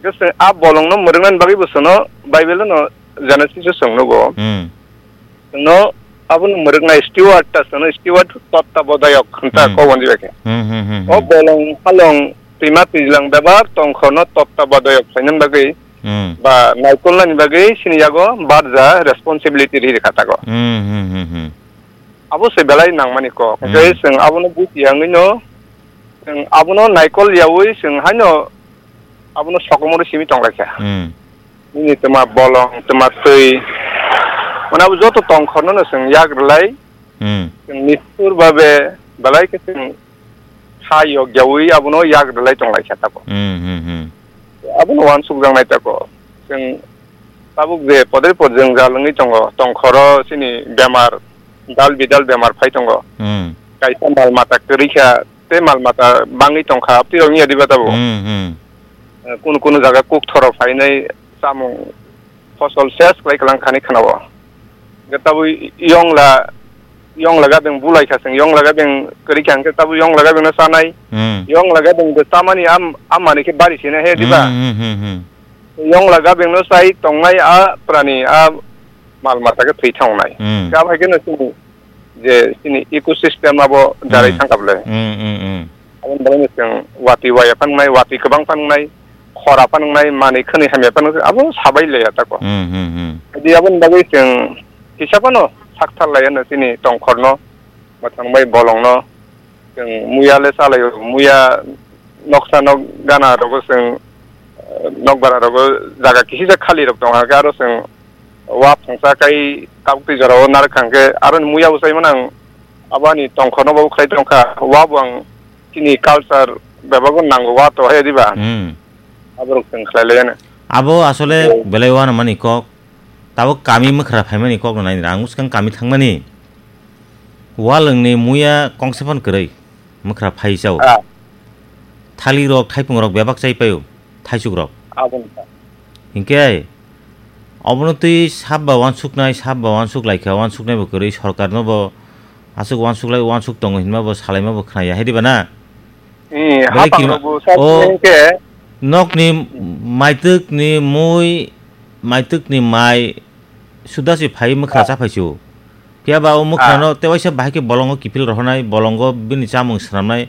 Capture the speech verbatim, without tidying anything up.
Khe chwng a bolongno mwrwknani bagwi bo chwngno Bible-o no Genesis-o chwng nugo. Hmm. Chwngno abono mwrwknai steward ta chwngno steward tottabodayok hwnta Hmm. kok hwnwi bai khe. Hmm, hmm, hmm, O hmm. bolong halong twima twijlang bebak tongkhorno tottabodayok khlainani bagwi Hmm. ba naikolnani bagwi chini yago barja responsibility riri kha tago. Hmm, hmm, hmm, hmm. Abo se belai nangmani kok. Hmm. Hwnkhe chwng abono buji yangwino, chwng abono naikol yaui chwng haino abono sokomoro simi tonglaikha. Hmm. Nini twma bolong, twma twi, mane abo joto tongkhorno no chwng yak rwlai, Hmm. chwng nishtur babe belai khe chwng ha yok yaui abono yak rwlai tonglaikha tako. Hmm, hmm, hmm. Abono uansukjaknai tako. Chwng tabuk je podre pod jwngjal wngwi tongo, tongkhoro chini bemar, dal bidal bemar phai tongo. Hmm. Kaisa mal mata kwrwi kha, tei mal mata bangwi tongkha, abtwi rok wngya diba tabuk. Hmm, hmm. Eh, kunu kunu jaga kuk thoro phainai chamung fosol ses kwlai kwlang khani khwnao. Hwnkhe tabuk yongla, yongla gabeng bulai kha chwng, yongla gabeng kwrwi kha hwnkhe tabuk yongla gabengno chanai. Hmm. Yongla gabeng bo chamani am-, amani khe bari sina he diba? Hmm, hmm, hmm, hmm. Yongla gabengno chai tongnai a prani a mal mata khe thwi thangnai. Hmm. Khe abo hai kheno chini je chini ecosystem abo darai Hmm. thangkha bwle. Hmm, hmm, hmm. Aboni bagwi chwng watwi waya phangnai, watwi kwbang phangnai, khora phangnai, manwi khwnwi hamya phangnai, abo sabai laya tako. Hmm, hmm, hmm. Jadi aboni bagwi chwng kisa phano sakthar laya no chini tongkhorno, mwthang bai bolongno, chwng muya le chalaio, muya noksa nok gana rogo chwng, eh, nokbara rogo jaga kisisa khali rok tongkha, aro chwng wa phangsa kai tabuk twi jorao narwk kha hwnkhe, aroni muya bo chaimano ang abo ani tongkhorno bo khlai tongkha, wa bo ang chini culture bebak bo nango, wa to hai diba? Hmm. Aborok chwng khlai laiya na. Abo asole Oh. belai uanamani kok, tabuk kami mwkhra phaimani kok no nai nira, ang bwskang kami thangmani. Walwngni muya kongsa phano kwrwi, mwkhra phai chao. Ah. Thali rok, thaipung rok bebak chai paio, thaisuk rok. Abo wngkha. Hinkhe, obono twi sab ba uansuknai, sab ba uansuk laikha, uansuknai bo kwrwi, sorkar no bo aswk uansuk lai, uansuk tongo hinma bo salaima bo khnaya, hai diba na? Eh, Belai hapang kirima-, rok bo sa o hinkhe. Nokni maitwkni mui, maitwkni mai, suda se phai mwkhra Ah. cha phai su. Phiya ba o mwkhra Ah. no tewaisa bahai khe bolongo kiphil rohornai, bolongo bini chamung swnamnai,